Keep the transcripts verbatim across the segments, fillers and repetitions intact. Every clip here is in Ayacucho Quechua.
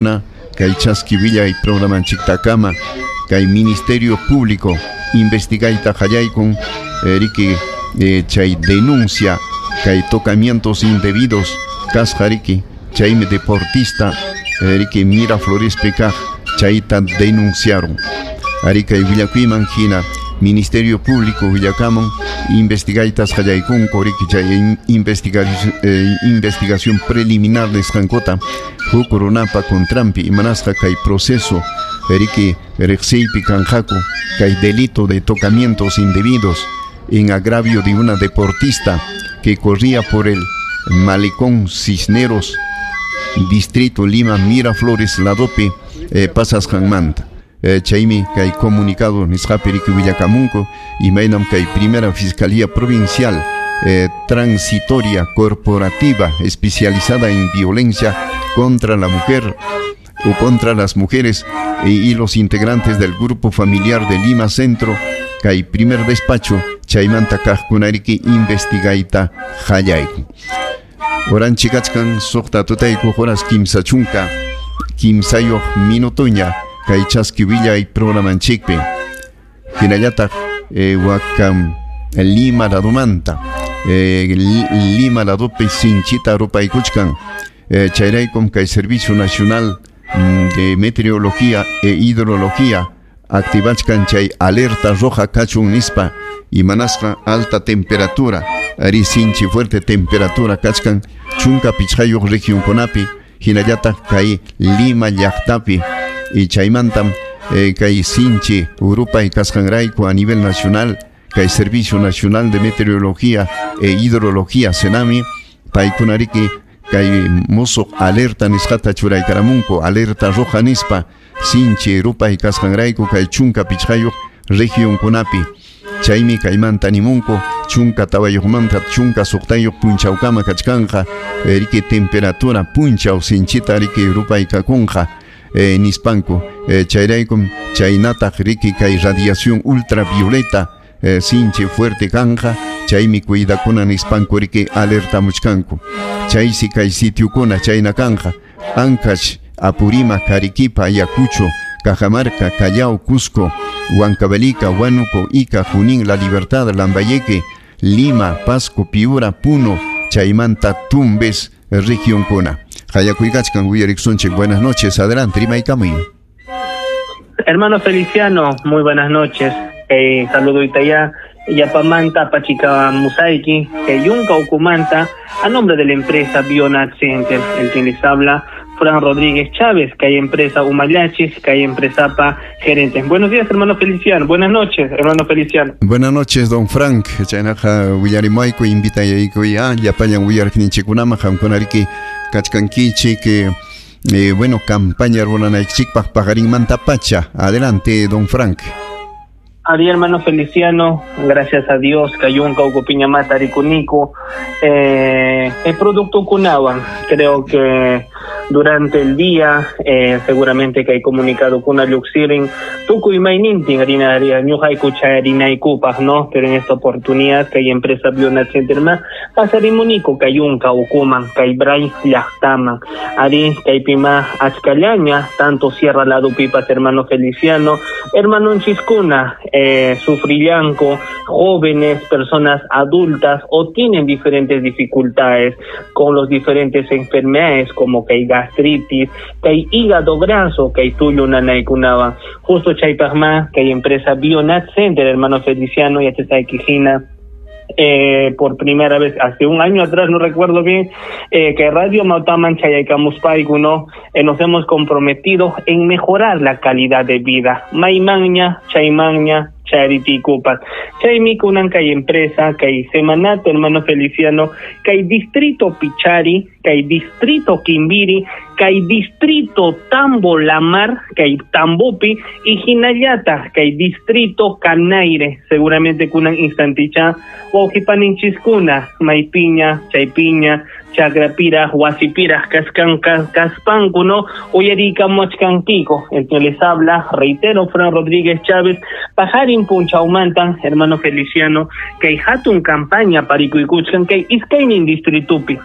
Kay chaski willay programanchiktakama kay Ministerio Público investigayta qallaykun riki eh, chay denuncia kay tocamientos indebidos kasqa riki chaymi deportista riki Miraflorespi kaq chayta denunciaron. Ari kay willakuyman hina Ministerio Público willakamun investigaytas qallaykunku riki chay investigación, eh, investigación preliminar nisqankuta huk runapa contranpi imanasqa kay proceso riki riqsiypi kanqaku kay delito de tocamientos indebidos en agravio de una deportista que corría por el Malecón Cisneros, distrito Lima, Miraflores, ladopi eh, pasasqanmanta. Eh, chaymi kay comunicado nisqapi riki willakamunku imaynam kay primera Fiscalía Provincial eh, Transitoria Corporativa especializada en violencia contra la mujer o contra las mujeres eh, y los integrantes del grupo familiar de Lima Centro kay primer despacho chaymanta kaqkunariki investigayta qallayku. Horanchik kachkan suqta tutayku horas kimsa chunka kimsayuq minutuña kay chaski willay programanchikpi. Hinallataq eh, wakam Lima ladumanta eh, Lima ladupi sinchita rupaykuchkan eh, chayraykum kay Servicio Nacional de Meteorología e Hidrología activachkan chay alerta roja kachun nispa imanasqa alta temperatura ari sinchi fuerte temperatura kachkan chunka pichqayuq regionkunapi hinallataq kay Lima llaqtapi y chaymantam eh, kay sinchi rupay kasqanrayku a nivel nacional kay Servicio Nacional de Meteorología e Hidrología SENAMI paykunariki kay musuq alerta nisqata churaykaramunku alerta roja nispa sinchi rupay kasqanrayku kay chunka pichqayuq regionkunapi chaymi kaymanta nimunku chunka tawayuqmanta chunka suqtayuq punchawkama kachkanqa riki temperatura punchaw sinchita riki rupay kakunqa eh, nispanku eh, chayraykum chaynataq riki kay radiación ultravioleta eh, sinchi fuerte kanja chaymi cuidakuna nispanku riki alertamuchkanku chaysi kay sitiokuna chayna kanja Ancash, Apurímac, Arequipa, Ayacucho, Cajamarca, Callao, Cusco, Huancavelica, Huánuco, Ica, Junín, La Libertad, Lambayeque, Lima, Pasco, Piura, Puno, Chaymanta, Tumbes, región Cuna. Hayakuykachkan uyariqsunchik. Buenas noches, adelante, rimaykamuy. Hermano Feliciano, muy buenas noches. Eh, saludo itaya Yapamanta, Pachica Musaiki, Yunca Ucumanta, a nombre de la empresa Bionat Center, el quien les habla, Fran Rodríguez Chávez, que hay empresa Humayachis, que hay empresa Pa Gerente. Buenos días, hermano Feliciano. Buenas noches, hermano Feliciano. Buenas noches, don Frank. Chaynaqa willarimayku invitayayku ya llapallan willarqninchikkunaman qamkunariki kachkankichik eh, bueno, campaña ruranaykichikpaq paqarinmanta pacha. Adelante, don Frank. Ari, hermano Feliciano, gracias a Dios, Cayunca, Ucopiñamata, Aricunico, eh, el producto Cunaban, creo que durante el día, eh, seguramente que hay comunicado con Luxirin, Tucu y Mainintin, harina, harina y cupas, ¿no? Pero en esta oportunidad, que hay empresa Bionat Center más, pasarimunico, Cayunca, Ucuman, Caibray, Llaqtaman, Ari, Caipima, Achcalaña, tanto Sierra Lado Pipas, hermano Feliciano, hermano Chiscuna, eh, sufrillanco, jóvenes, personas adultas o tienen diferentes dificultades con los diferentes enfermedades como que hay gastritis, que hay hígado graso, que hay tulio nanaykunaba. Justo chaypaqma, que hay empresa Bionat Center, hermano Feliciano, y Quijina. Eh, por primera vez hace un año atrás, no recuerdo bien, eh, que Radio Mautaman Chayaycamuspaiku, ¿no? Eh, nos hemos comprometido en mejorar la calidad de vida. Maimaña, Chaymaña, Charity Cupas. Chaymi kunan kay empresa, kay Semanato, hermano Feliciano, kay Distrito Pichari, kay Distrito Quimbiri, kay Distrito Tambo Lamar, kay Tambopi y Hinayata, kay Distrito Canaire, seguramente kunan instanticha, wawqipaninchiskuna, Maypiña, Chaypiña, Chakrapira, Huasipira, Cascan, Caspanco, ¿no? Uyarikamuachkankico, el que les habla, reitero, Fran Rodríguez Chávez, Pajarin Punchaumantan, hermano Feliciano, kay hatun campaña parikuykuchkan, kay iskaynin distritupi.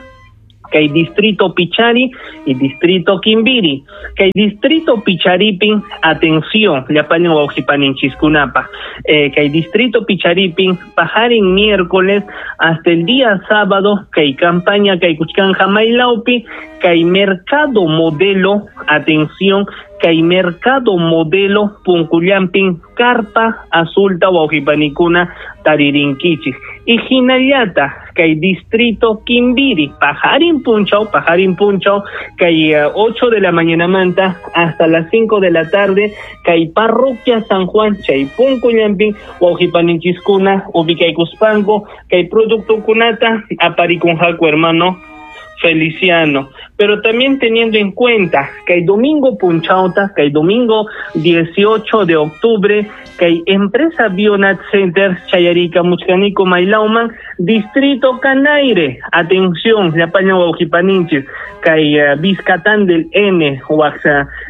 Kay distrito Pichari y distrito Kimbiri. Kay distrito Picharipin, atención, llapallan wawqipaninchikkunapaq. Eh, kay distrito Picharipin, pajarin miércoles hasta el día sábado, kay campaña kay kuchkanja maylawpi, kay mercado modelo, atención, kay mercado modelo punkullampin carpa azulta wawqipanikuna taririnkichik. Y hinallata kay distrito Kimbiri, pajarin punchaw, pajarin punchaw, kay uh, ocho de la mañana manta hasta las cinco de la tarde, kay parroquia San Juan, chay punkullampin wawqipaninchiskuna ubikaykuspanku, kay productokunata aparikunqaku hermano Feliciano. Pero también teniendo en cuenta que hay domingo punchauta, que hay domingo dieciocho de octubre, que hay empresa Bionat Center, Chayarica, Muchcanico, Mailauman, Distrito Canaire, atención, llapaña wawqipaninchis, que hay uh, Vizcatán del N, huac,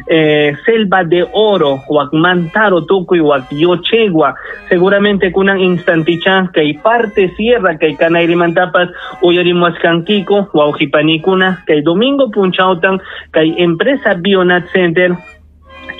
eh, Selva de Oro, huac Mantaro, Tucuy, huac Yochegua, seguramente kunan instanticha, que hay parte sierra, que hay Canaire Mantapas, Uyarimuascanquico, wawqipanikuna, que hay domingo punchautan, kay empresa Bionat Center,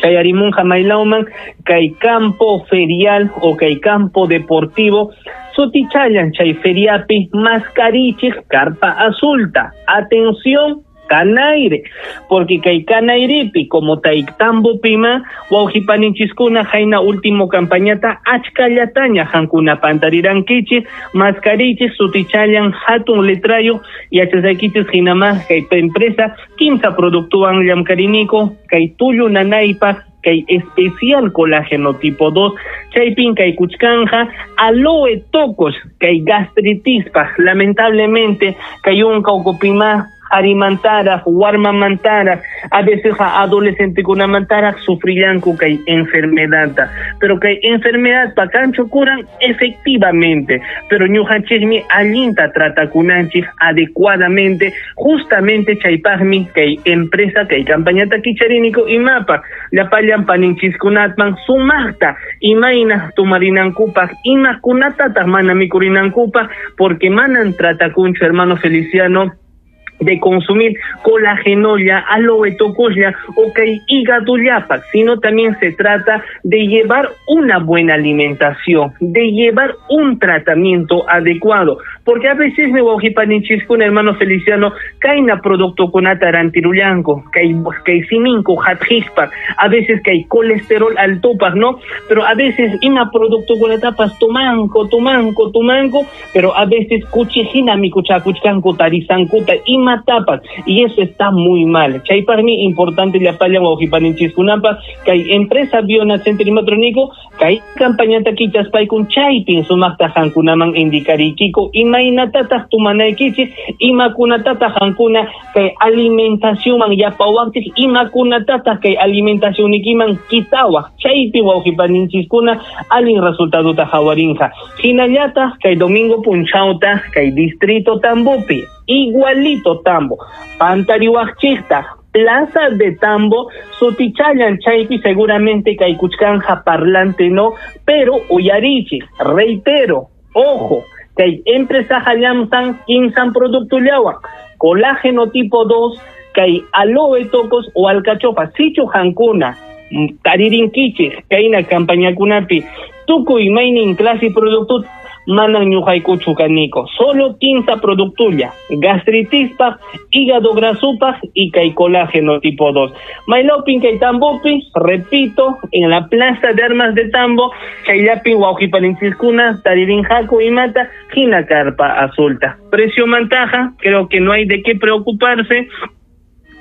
Chayarimunja Mailauman, kay campo ferial o kay campo deportivo, sutichayan chay feriapi, mascarichik, carpa azulta. Atención, Canaire, porque kay Canairipi, como taiktambo pima, wawqipaninchiskuna jaina último campañata, achkallataña hankuna pantarirankichik, mascarichik, sutichayan, hatun letrayo, yachasaykichis hinama, kay empresa, quince productuan llamkariniko, kay tullu nanaypaq, kay especial colágeno tipo dos, chaypin kay kuchkanja, aloe tocos, kay gastritispaq, lamentablemente, kay unka ukupima, arimantara, warmamantara, a veces adolescente kunamantara sufrillanku kay enfermedad, pero kay enfermedad pakancho curan efectivamente, pero ñuqanchikmi allinta tratakunanchik adecuadamente, justamente chaypaqmi kay empresa kay campañata kichariniko imapa, llapallan paninchiskunatman sumaqta imayna tumarinankupaq, imakunatataq mana mikurinankupaq, porque manan tratakunchu hermano Feliciano de consumir colágenolla, aloe tocoslla o kay hígado llapa, sino también se trata de llevar una buena alimentación, de llevar un tratamiento adecuado, porque a veces me wawqipaninchiskuna hermano Feliciano, kayna producto kunata rantirullanku, kay kay siminku hatjispa, a veces kay colesterol altopaq, ¿no? Pero a veces ima producto kunatapas tomanco, tomanco, tomanco, pero a veces kuchijina mikuchakuchkanku tarisankuta ima tapas, y eso está muy mal. Chaypaqmi importante llapallan wawqipaninchikkunapaq kay empresa Bionat Center imatroniko kay campañata kichaspaykun chaypin sumaqta hankunaman indicarikiko imaynatataq tumanaykichik, imakunatataq hankuna kay alimentacionman yapawaqchik, imakunatataq kay alimentacionikiman kitawaq, chaypi wawqipaninchikkuna allin resultadota hawarinqa. Hinallataq kay domingo punchawta kay distrito Tambopi, igualito Tambo, pantariwaqchikta, Plaza de Tambo, sutichayan chaypi seguramente kay kuchkanja parlante no, pero uyarichik, reitero, ojo, kay empresa hallamsan quince producto llawan, colágeno tipo dos, kay aloe tocos o alcachofa, sichu hankuna, taririnkichik, kayna campañakunapi, tukuy maynin clase producto manan ñuqaykuchu kaniko, solo quince productulla, gastritispaq, hígado grasupaq y kay colágeno tipo dos. Maylawpin kay Tambopi, repito, en la Plaza de Armas de Tambo, chayllapin wawqipaninchiskuna, taririnqaku imata, hina carpa azulta. Precio mantaja, creo que no hay de qué preocuparse,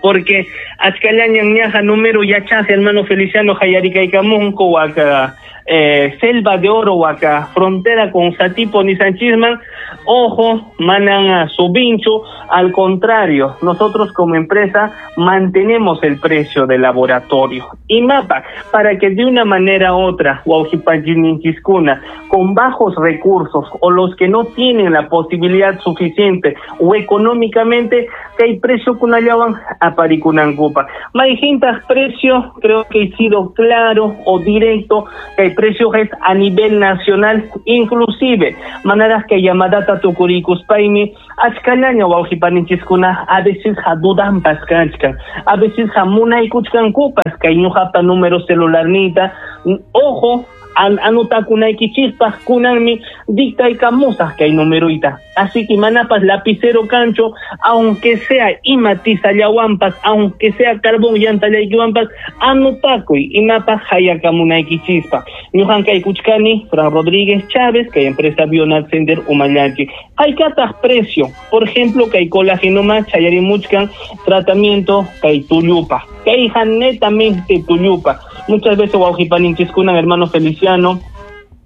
porque achkallañan ñaja número yachaje, hermano Feliciano, hayarikaykamunku, waka eh, Selva de Oro, waka frontera con Satipo ni Sanchisman, ojo, manan a subincho, al contrario, nosotros como empresa mantenemos el precio del laboratorio. Y mapa, para que de una manera u otra, wawqipaninchiskuna, con bajos recursos o los que no tienen la posibilidad suficiente o económicamente, que hay precio kunallawan yanaparikunankupa. Mayqintaq precio, creo que he sido claro o directo, que el precio es a nivel nacional, inclusive maneras que llamadata tukurikuspaymi achkallaña wawqipaninchiskuna a veces dudanpas kachkan, a veces munaykuchkankupas kay ñuqapa número celularnita. Ojo, an anotakunaykichispaq kunanmi dictaykamusaq kay numeroyta. Así que manapas lapicero cancho, aunque sea ima tizallawanpas, aunque sea carbón llantallaykiwanpas, anotakuy imapas hayakamunaykichispaq. Ñuqan kaykuchkani Fran Rodríguez Chávez, kay empresa Bionat Center umallachi. Haykataq precio, por ejemplo, kay colágeno más chayarimuchkan tratamiento kay tullupa. Kayja netamente tullupa. Muchas veces wawqipaninchikuna, hermano Feliciano,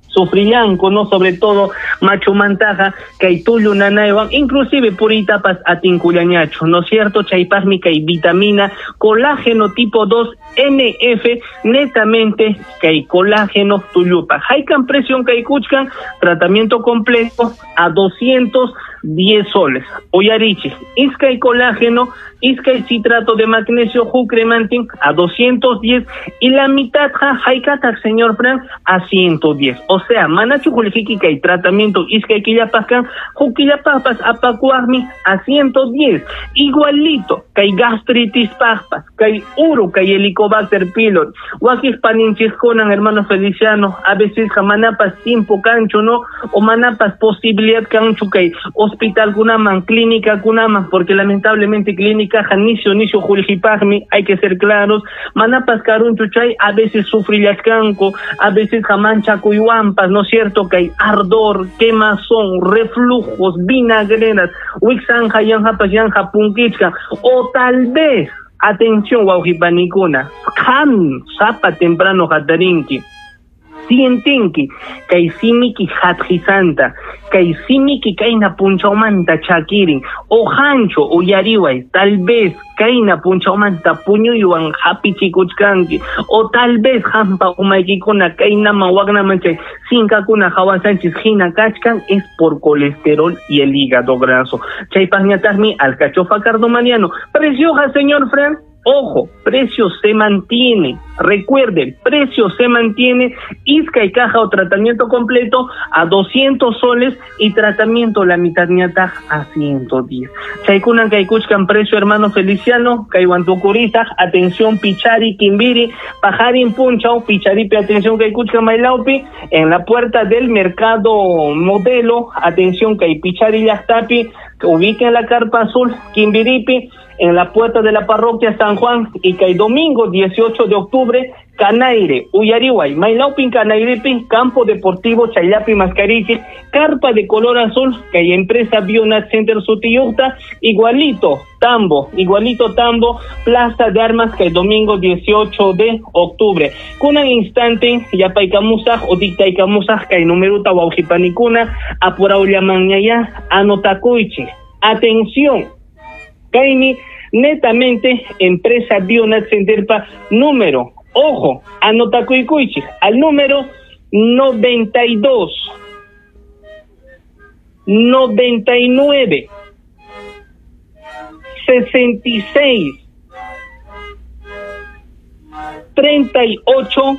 sufrillanku, ¿no? Sobre todo machu mantaja, kay tullu nanaywan, inclusive puritapas atinkullañachu, ¿no es cierto? Chaypaqmi kay vitamina colágeno tipo dos N F, netamente kay colágeno tullupa. Haykan presión kay kuchkan, tratamiento completo a doscientos diez soles. Uyarichi, iskay colágeno, iskay citrato de magnesio jucremantin a doscientos diez y la mitad ja haykataq señor Fran a ciento diez. O sea, manachu qullqiki kay tratamiento iskay killapaqkan hukillapaqpas apakuaqmi a ciento diez. Igualito kay gastritis paqpas, kay uru, kay helicobacter pylori. Wakiq paninchikkunan, hermano Feliciano, a veces manapas tiempo cancho, ¿no? O manapas posibilidad cancho kay hospital kunaman, clínica kunaman, porque lamentablemente clínica janicio nicio qullqipaqmi, hay que ser claros, manapas karunchu chay, a veces sufrillachkanku, a veces jamanchakuywanpas, ¿no es cierto? Que hay ardor, quemazón, reflujos, vinagreras, wixanja, yanjapas, yanja, punkichka, o tal vez, atención, wawqipanikuna, qam sapa temprano hatarinki, sientinki kay simiki hatqisanta, kay simiki kayna punchawmanta chakirin, o hancho uyariway, tal vez kayna punchawmanta puñuywan hapichikuchkanki, o tal vez hampa umaykikuna kaynaman waknaman chay sinkakuna hawasanchis hina kachkan, es por colesterol y el hígado graso. Chaypaqñataqmi alcachofa cardomaniano. Preciosa, señor Fran. Ojo, precio se mantiene. Recuerden, precio se mantiene. Isca y caja o tratamiento completo a doscientos soles y tratamiento la mitad ñata a ciento diez. Chaykunan kaykuchkan precio, hermano Feliciano, kaywantukurita, atención Pichari, Kimbiri, Pajarin Punchao, Picharipi, atención kaykuchkan Mailaupi, en la puerta del mercado modelo, atención kay Pichari llaqtapi, ubiquen la carpa azul, Kimbiripi, en la puerta de la parroquia San Juan, y que el domingo dieciocho de octubre, Canaire, Uyarihuay, Mailaupi, Canairepi, Campo Deportivo Chaylapi Mascarichi, carpa de color azul, que hay empresa Bionat Center Sutiyucta, igualito Tambo, igualito Tambo, Plaza de Armas, que el domingo dieciocho de octubre. Kunan instante, yapaykamusaj o dictaykamusaj, kay numeruta wawqipanikuna, apuraullamanñaya, anotakuychi. Atención, kaymi netamente empresa Bionat Centerpa número, ojo, anotakuycuychik, al número noventa y dos, noventa y nueve, sesenta y seis, treinta y ocho,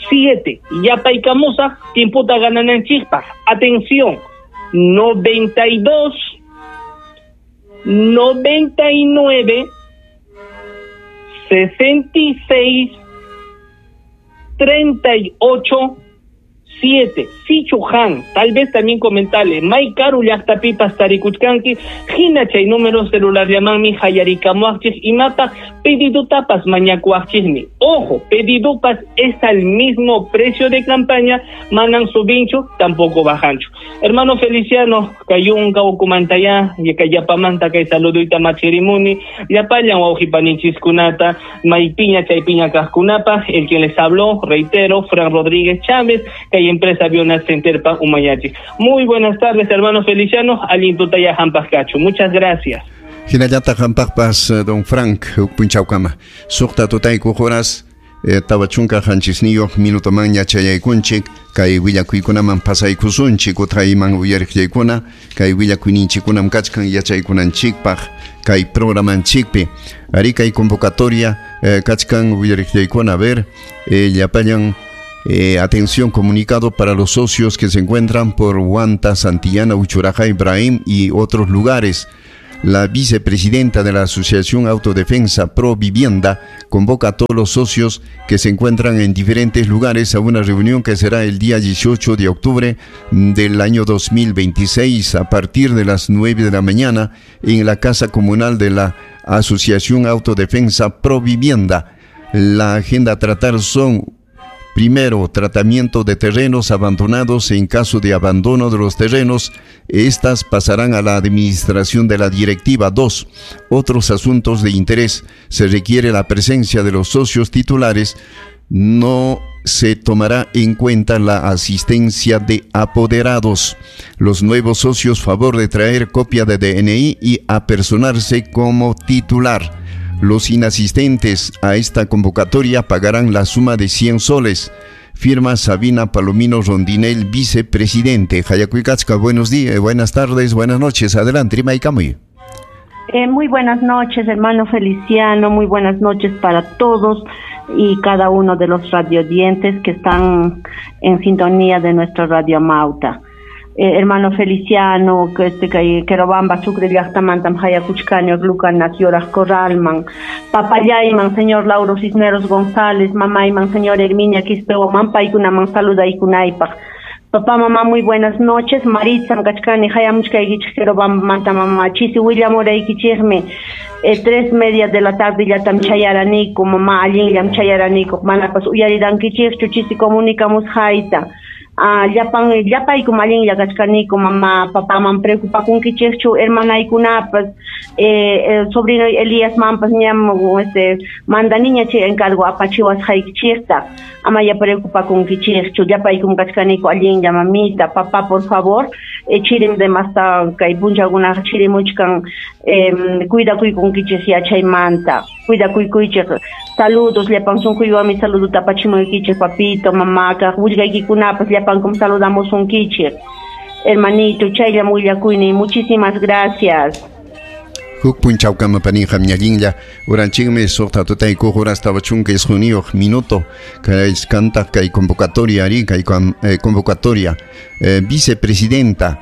siete. Yapaykamusaj, tiemputa ganananchikpaq. Atención, noventa y dos, noventa y nueve, sesenta y seis, treinta y ocho, siete. Sichuhan, tal vez también comentarle, Maikaru llaqtapipas tarikuchkanki, hina chay número celular llamanmi hayarikamuaqchik imapa pedidutapas mañakuaqchikmi. Ojo, pedidupas es al mismo precio de campaña, manan subinchu, tampoco bajanchu. Hermano Feliciano, kayunka ukumantaya, yakayapamanta kay saluduyta machirimuni, llapallan wawqipanichiskunata, maypiña chaypiña kaqkunapa, el quien les habló, reitero, Fran Rodríguez Chávez, kay empresa Bionat Centerpa Umayachi. Muy buenas tardes, hermano Feliciano, alintutaya hampaqkachu. Muchas gracias. Hinallata hampaqpas, don Frank, punchawkama. Suqta tutayku horas eh, tawa chunka qanchisniyuq minutomanña chayaykunchik kay willakuykunaman pasaykusunchik utqayman uyariqllaykuna kay willakuyninchikkunam kachkan yachaykunanchikpaq kay programanchikpi ari kay convocatoria eh, kachkan uyariqllaykuna a ver eh, llapallan. Eh, atención, comunicado para los socios que se encuentran por Huanta, Santillana, Uchuraccay, Ibrahim y otros lugares. La vicepresidenta de la Asociación Autodefensa Pro Vivienda convoca a todos los socios que se encuentran en diferentes lugares a una reunión que será el día dieciocho de octubre del año dos mil veintiséis a partir de las nueve de la mañana en la Casa Comunal de la Asociación Autodefensa Pro Vivienda. La agenda a tratar son: primero, tratamiento de terrenos abandonados. En caso de abandono de los terrenos, estas pasarán a la administración de la directiva. Dos, otros asuntos de interés. Se requiere la presencia de los socios titulares. No se tomará en cuenta la asistencia de apoderados. Los nuevos socios, favor de traer copia de D N I y apersonarse como titular. Los inasistentes a esta convocatoria pagarán la suma de cien soles. Firma Sabina Palomino Rondinel, vicepresidente. Hayakuykachka, buenos días, buenas tardes, buenas noches. Adelante, Rimaykamuy. Eh, muy buenas noches, hermano Feliciano. Muy buenas noches para todos y cada uno de los radiodientes que están en sintonía de nuestro Radio Amauta. Eh, hermano Feliciano, que este que Querobamba, Sucre, llaqtamantam hayakuchkani, Lucana, Yoraj Corralman, papallayman, señor Lauro Cisneros González, mamayman, señor Herminia Quispehuaman, paykunaman saludaykunaypaq. Papá, mamá, muy buenas noches. Maritza, kachkani, hayamuchkaykichik, Querobamba, mamá, chisi, willamuraykichikmi. Eh, tres media de la tarde llatam chayaraniku, mamá, allinllam chayaraniku, manapas uyarirankichikchu, chisi comunicamos hayta. Ah, llapan, llapaykum allinlla kachkaniku, mamá, papá, man preocupakunkichikchu, hermanaykunapas, eh, eh, sobrino Elías mampas ñam, este, manda niña chay encargo apachiwasqaykichikta, ama ya preocupakunkichikchu, llapaykum kachkaniku allinlla, mamita, papá, por favor, eh, chirim de masta kay punchakunaqa chirimuchkan, eh, cuidakuykunkichik yachaymanta, cuidakuykuychik. Saludos, llapan sunquywanmi saludo tapachimuykichik, papito, mamá, kaq willkaykikunapas llapankum saludamusunkichik. Hermanito, chayllam willakuyni, muchísimas gracias. Huk punchawkama paninqa ñallinlla uranchikmi suqta tutaykuq horas tawa chunka isquniyuq minuto kay kantaq kay convocatoria ari kay eh, convocatoria eh, vicepresidenta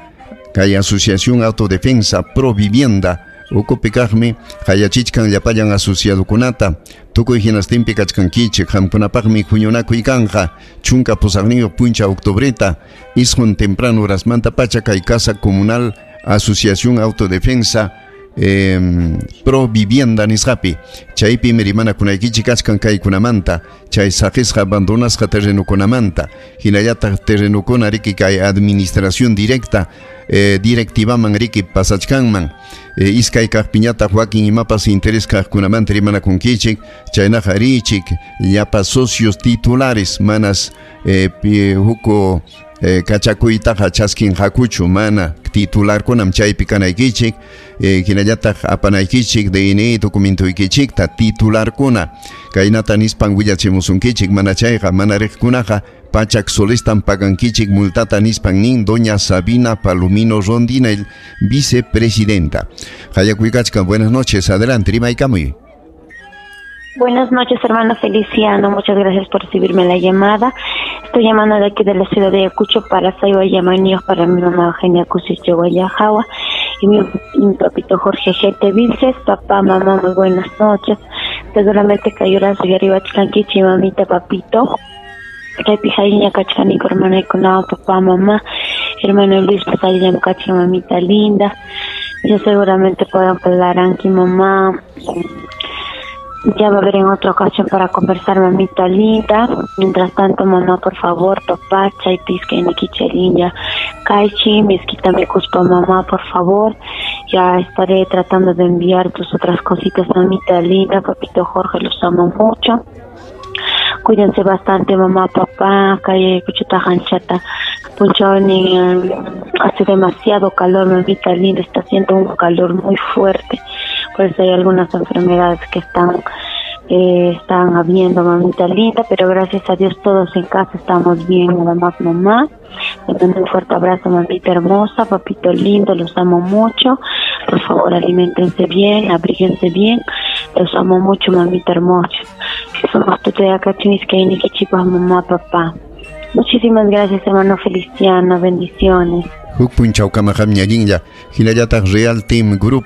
kay Asociación Autodefensa Pro Vivienda ukupikaqmi hayachichkan llapallan asociadokunata tukuy hinastinpi kachkankichik qamkunapaqmi huñunakuy kanqa chunka pusaqniyuq puncha octubreta isqun temprano horasmanta pacha kay Casa Comunal Asociación Autodefensa eh, Pro Vivienda nisqapi chaypimi rimanakunaykichik kachkan kaykunamanta chay saqisqa abandonasqa terrenukunamanta hinallataq terrenukuna riki kay administración directa eh, directivaman riki pasachkanman eh, iskay kaqpiñataq wakin imapas interés kaqkunamanta rimanakunkichik chaynaqa richik llapa socios titulares manas eh, huku Eh, kachakuytaqa chaskinqakuchu mana titularkunam chaypi kanaykichik eh, hinallataq apanaykichik D N I documentoykichikta titularkuna kaynata nispan willachimusunkichik mana chayqa mana riqkunaqa pachak solestan pagankichik multata nispan nin doña Sabina Palomino Rondinel, vicepresidenta. Hayakuykachka, buenas noches, adelante, rimaykamuy. Buenas noches, hermano Feliciano, muchas gracias por recibirme la llamada. Estoy llamando de aquí de la ciudad de Ayacucho para Saiba Yamaníos, para mi mamá Eugenia Cusiche Guayajawa y mi, y mi papito Jorge G T Vilces. Papá, mamá, muy buenas noches. Seguramente cayó la suya arriba Chlanquichi, mamita, papito. Kaypi kachkaniku hermanaykunawan, papá, mamá, hermano Luis, pasaylla kachi, mamita linda. Yo seguramente puedo hablar mamá. Ya va a haber en otra ocasión para conversar, mamita linda. Mientras tanto, mamá, por favor, papá, chaypisca, nikichelinja, kaichi, mezquita me cuspa, mamá, por favor. Ya estaré tratando de enviar tus otras cositas, mamita linda, papito Jorge, los amo mucho. Cuídense bastante, mamá, papá, calle cuchuta hanchata, punchoni, hace demasiado calor, mamita linda, está haciendo un calor muy fuerte. Por eso hay algunas enfermedades que están Eh, están habiendo, mamita linda, pero gracias a Dios todos en casa estamos bien, nada más mamá. Te mando un fuerte abrazo, mamita hermosa, papito lindo, los amo mucho. Por favor, aliméntense bien, abríguense bien. Los amo mucho, mamita hermosa. Somos mamá, papá. Muchísimas gracias, hermano Feliciano. Bendiciones. Huk punchawkama qamñallinlla hinallataq Real Team Group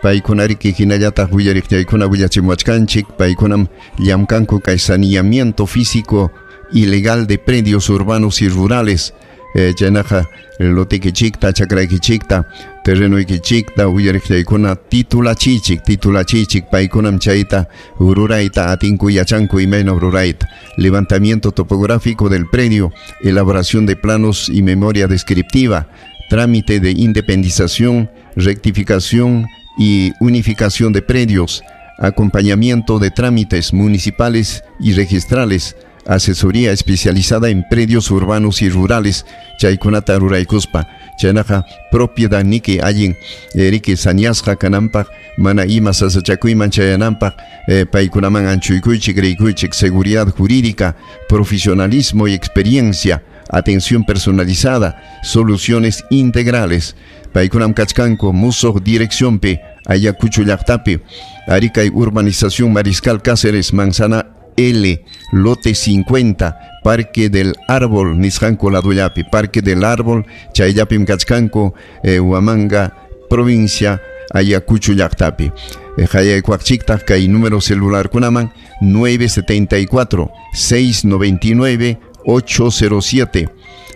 paykunariki hinallataq willariqchaykuna willachimuwachkanchik paykunam llamkanku kay saneamiento físico ilegal de predios urbanos y rurales eh, chaynaqa lotikichikta chakraykichikta terrenoykichikta willariqchaykuna titulachichik titulachichik paykunam chayta rurayta atinku yachanku imayna rurayta levantamiento topográfico del predio, elaboración de planos y memoria descriptiva, trámite de independización, rectificación y unificación de predios, acompañamiento de trámites municipales y registrales, asesoría especializada en predios urbanos y rurales, chaykunata ruraykuspa, chaynaqa propiedad niki allin riki sañasqa kananpaq mana ima sasachakuyman chayananpaq eh, paykunaman anchuykuychik riykuychik seguridad jurídica, profesionalismo y experiencia, atención personalizada, soluciones integrales. Paykunam kachkanku musuq direcciónpi Ayacucho llaqtapi, Arica y urbanización Mariscal Cáceres, Manzana L, lote cincuenta, Parque del Árbol, nisqanku ladullapi, Parque del Árbol, chayllapim kachkanku, eh, Huamanga, provincia Ayacucho llaqtapi. Eh, Hayaykuaqchiktaq kay número celular kunaman nueve setenta y cuatro, seis noventa y nueve, ocho cero siete,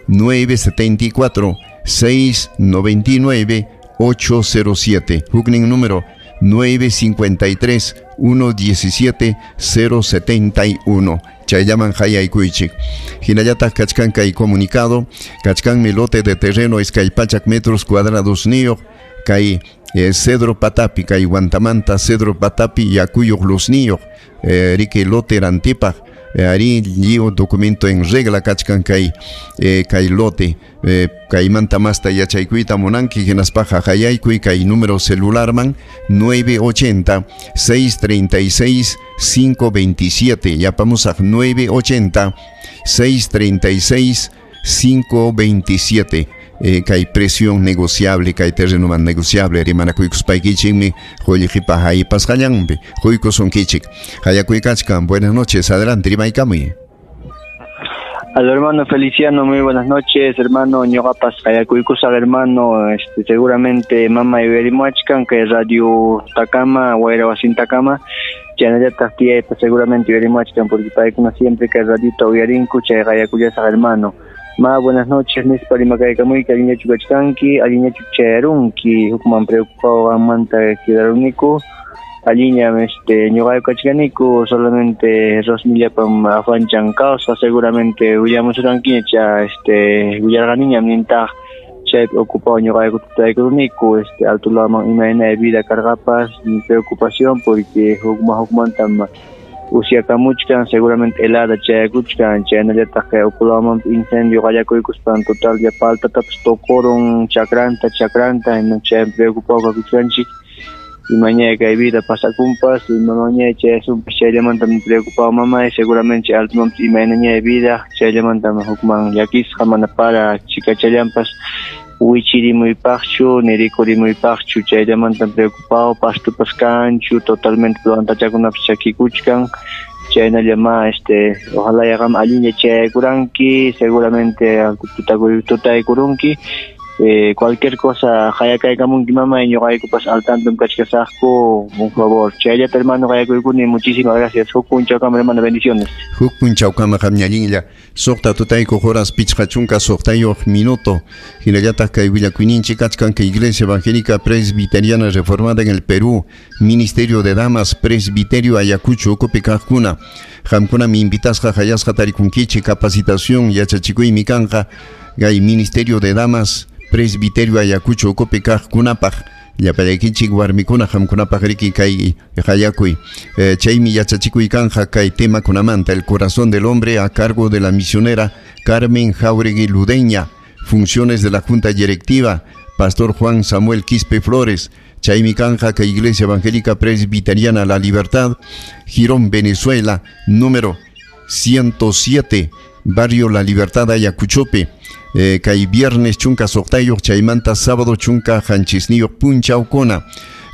nueve setenta y cuatro, seis noventa y nueve, ocho cero siete. Huknin número nueve cincuenta y tres, uno diecisiete, cero setenta y uno. Chayllaman hayaykuychik. Hinallataq kachkan kay comunicado, kachkanmi lote de terreno iskay pachak metros cuadrados niyuq kay eh, Cedro Patapi, kay Huantamanta Cedro Patapi yakuyuq luzniyuq eh, riki lote rantipaq eh, ari lliw documento en regla kachkan kay eh, kay lote eh, kaymanta masta yachaykuyta munanki hinaspaqa hayaykuy kay número celularman nueve ochenta, seis treinta y seis, cinco veintisiete. Yapamusaq nueve ochenta, seis treinta y seis, cinco veintisiete. Eh, kay presión negociable, kay terreno man negociable, rimanakuykuspaykichikmi qullqipa haypasqallanpi quykusunkichik. Hayakuykachkan, buenas noches, adelante, rimaykamuy. Al hermano Feliciano, muy buenas noches, hermano ñuqapas hayakuykusaq, hermano, este, seguramente mama yuyarimuachkan kay radio Takama, wayra wasintakama, chaynallataq tiyaypas seguramente yuyarimuachkan porque paykuna siempre kay radiota uyarinku, chay hayakullasaq, hermano. Ma, buenas noches, nispa rimakaykamuyki, allinllachu kachkanki, allinllachu chayarunki, hukman preocupado qanmanta quedaruniku, alliñam este ñuqayku kachkaniku, solamente Rosmillapam afanchan causa, seguramente willamusurankiña cha este willarqaniñam nintaq chaypi ocupado ñuqayku tutaykuruniku, este alto laman imayna vida cargapas, mi preocupación porque hukman hukmantam usyakamuchkan, seguramente helada chayakuchkan, chaynallataq kay ukulaman incendio qallakuykuspan total ya paltatapas tocorun chakranta chakranta, chay preocupado kakuchkanchik imañay kay vida pasakunpas, imamañay chayasunpas chayllamantam preocupado mamay, seguramente altumanpas imaynañay vida chayllamantam hukman llakisqa mana para chikachallanpas wichirimuypaqchu nirikurimuypaqchu chayllamantam preocupado pastupas kanchu totalmente plantachakunapas chakikuchkan chaynallama este ojalá yaqam allinlla chayaykuranki seguramente tutaykurunki eh, cualquier cosa hayakaykamunki mamay ñuqaykupas al tanto kachkasaqku un favor chayllata hermano hayakuykuni muchísimas gracias huk punchawkama hermano bendiciones huk punchawkama qamñallinlla suqta tutayku horas pichqa chunka suqtayuq minuto hinallataq kay willakuyninchik kachkan kay Iglesia Evangélica Presbiteriana Reformada en el Perú Ministerio de Damas Presbiterio Ayacucho ukupi kaqkuna qamkunami invitasqa hayasqa tarikunkichik capacitación yachachikuymi kanqa kay Ministerio de Damas Presbiterio Ayacucho ukupi kaqkunapaq llapallaykichik warmikuna qamkunapaq riki kay hayakuy eh, chaymi yachachikuy kanja kay temakunamanta el corazón del hombre a cargo de la misionera Carmen Jáuregui Ludeña, funciones de la Junta Directiva Pastor Juan Samuel Quispe Flores, Chaymi kanja kay Iglesia Evangélica Presbiteriana La Libertad, Girón, Venezuela, número ciento siete, Barrio La Libertad, Ayacuchope. Eh, kay viernes chunka suqtayuq, chaymanta sábado chunka qanchisniyuq punchawkuna.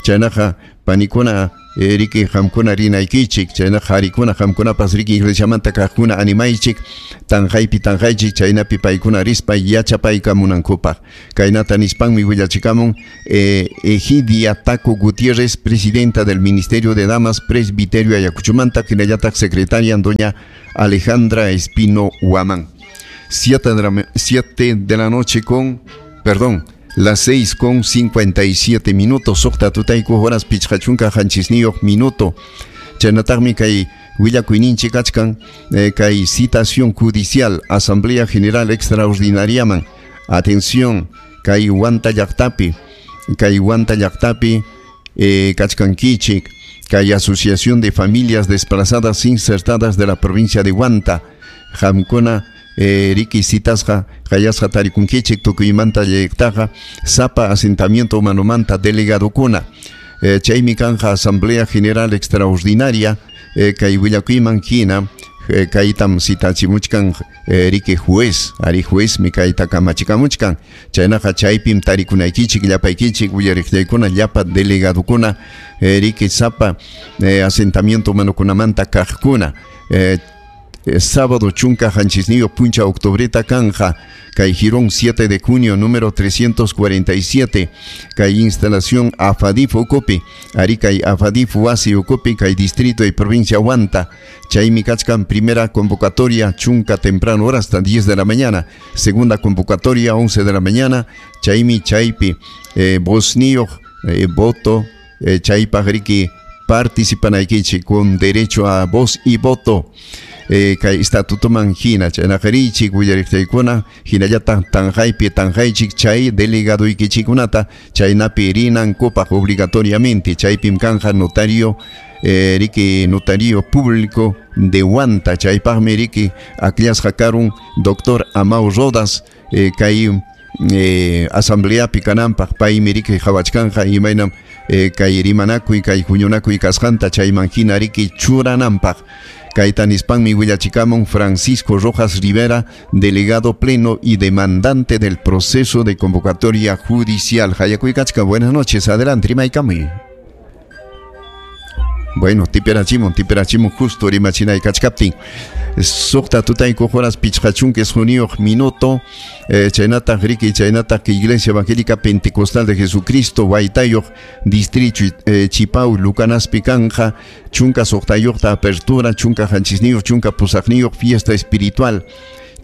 Chaynaqa panikuna eh, riki qamkuna rinaykichik, chaynaqa qarikuna qamkunapas riki iglesiamanta kaqkuna animaychik, tanqaypi tanqaychik, chaynapi paykuna rispa yachapaykamunankupaq. Kaynata nispanmi willachikamun eh, Egidia Taco Gutiérrez, presidenta del Ministerio de Damas Presbiterio Ayacuchumanta, hinallataq secretaria doña Alejandra Espino Huamán. Siete de la, siete de la noche con, perdón, las seis con cincuenta y siete minutos, suqta tutayku horas pichqa chunka qanchisniyuq minuto. Chaynataqmi kay willakuyninchik kachkan eh, kay citación judicial, Asamblea General Extraordinariaman. Atención, kay Huanta llaqtapi, kay Huanta llaqtapi eh, kachkankichik, kay Asociación de Familias Desplazadas Insertadas de la provincia de Huanta, qamkuna Eh, riki citasqa qayasqa tarikunkichik tukuymanta llaqtaqa sapa asentamiento humanomanta delegadokuna. Eh, chaymi kanja Asamblea General Extraordinaria eh, kay willakuyman hina eh, kaytam citachimuchkan eh, riki juez, ari juez mi kayta kamachikamuchkan. Chaynaqa chaypim tarikunaykichik llapaykichik willariqllaykuna llapa delegadokuna eh, riki sapa eh, asentamiento humanokunamanta kaqkuna. Eh, sábado chunka qanchisniyuq puncha octubreta kanja kay Girón siete de junio número trescientos cuarenta y siete kay instalación Afadif ukupi, ari kay Afadif wasi ukupi kay distrito y provincia Huanta. Chaymi kachkan primera convocatoria chunka temprano hora hasta diez de la mañana, segunda convocatoria once de la mañana. Chaymi chaypi eh, vozniyuq eh, voto eh, chaypaq riki participanaykichik con derecho a voz y voto. Eh, kay estatutoman hina chaynaqa richik willariqtaykuna hinallataq tanqaypi tanqaychik chay delegaduykichikunata chaynapi rinankupaq obligatoriamente. Chaypim kanja notario eh, riki notario público de Huanta, chaypaqmi riki akllasqa karun doctor Amau Rodas eh, kay eh, asambleapi kananpaq paymi riki qhawachkanja imaynam eh, kay rimanakuy kay huñunakuy kasqanta chayman hina riki churananpaq. Kayta nispanmi willachikamun Francisco Rojas Rivera, delegado pleno y demandante del proceso de convocatoria judicial. Hayakuykachka, buenas noches, adelante, rimaykamuy. Bueno, tiperachimun, tiperachimun justo rimachinay kachkaptin. Suqta tutayku horas pichqa chunka isquniyuq minuto. Eh, chaynataq riki chaynataq Iglesia Evangélica Pentecostal de Jesucristo Waytayuq distrito eh, Chipau Lucanaspi kanja chunka suqtayuqta apertura chunka qanchisniyuq chunka pusaqniyuq fiesta espiritual.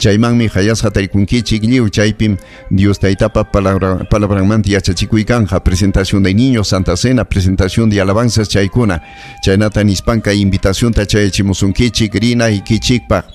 Chaymanmi hayasqa tarikunkichik lliw chaypim Dios taytapa palabra palabranmanta yachachikuy kanja presentación de niños, Santa Cena, presentación de alabanzas chaykuna. Chaynata nispanka invitacionta chayachimusunkichik rinaykichikpaq.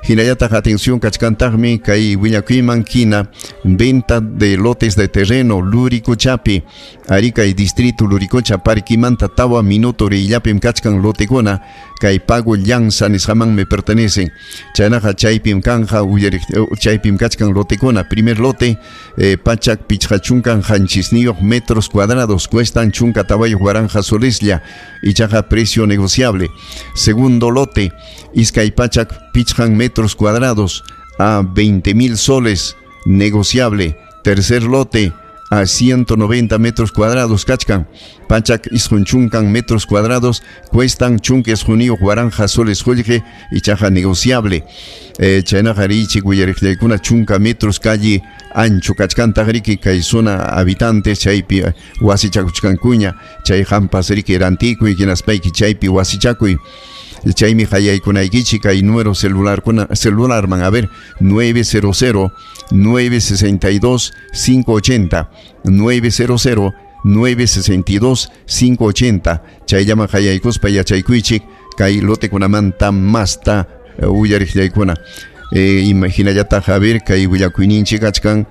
Hinallataq atención kachkantaqmi kay willakuyman hina venta de lotes de terreno Luricochapi, ari kay distrito Luricocha parquimanta tawa minuto riyllapim kachkan lotekuna kay pago llanza nisqamanmi pertenecen. Chaynaqa chaypim kanja uyariq chaypim kachkan lotekuna. Primer lote eh, pachak pichqa chunkan qanchisniyuq metros cuadrados cuestan chunka tawayuq waranqa soleslla ichaqa precio negociable. Segundo lote iskay pachak pichqan metros cuadrados a veinte mil soles negociable. Tercer lote a ciento noventa metros cuadrados kachkan pachak isqun chunkan metros cuadrados cuestan chunka isquniyuq waranqa soles qullqi ichaqa negociable. Eh, chaynaqa richik willariqllaykuna chunka metros calle ancho kachkantaq riki kay zona habitantes chaypi wasichakuchkankuña chay qampas riki rantikuy hinaspayki chaypi wasichakuy. Chaymi hayaykunaykichik kay número celular kuna celularman a ver nueve cero cero nueve sesenta y dos cinco ochenta nueve cero cero nueve sesenta y dos cinco ochenta chayllaman hayaykuspa yachaykuychik kay lotekunamanta masta uyariqllaykuna. Eh, imaginallataq a ver kay willakuyninchik kachkan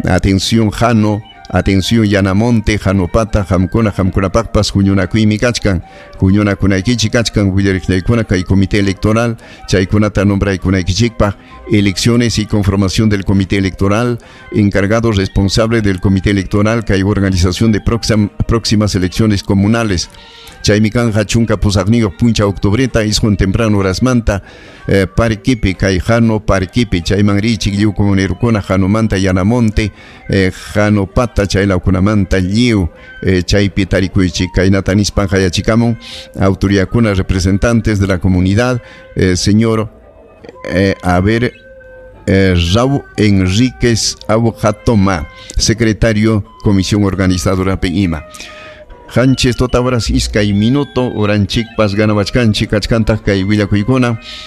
atención jano Atención, Yanamonte, Hanopata, qamkuna, qamkunapaqpas huñunakuymi kachkan. Huñunakunaykichik kachkan willariqllaykuna kay comité electoral, chaykunata nombraykunaykichikpaq, elecciones y conformación del comité electoral, encargado responsable del comité electoral kay organización de próximas elecciones comunales. Chaymi kanqa chunka pusaqniyuq punchaw octubreta isqun temprano horasmanta eh, parkipi kay Jano parkipi chayman richik lliw comunerukuna Janomanta, Yanamonte, eh, Janopata chaylawkunamanta lliw eh, chaypi tarikuychik. Kaynata nispan qayachikamun autoridadkuna, representantes de la comunidad, eh, señor eh, a ver, eh, Raúl Enríquez Aujatoma, secretario Comisión Organizadora P I M A. Qanchis tota horas iskay minuto, horanchikpas ganawachkanchik, kachkantaq kay willakuykuna.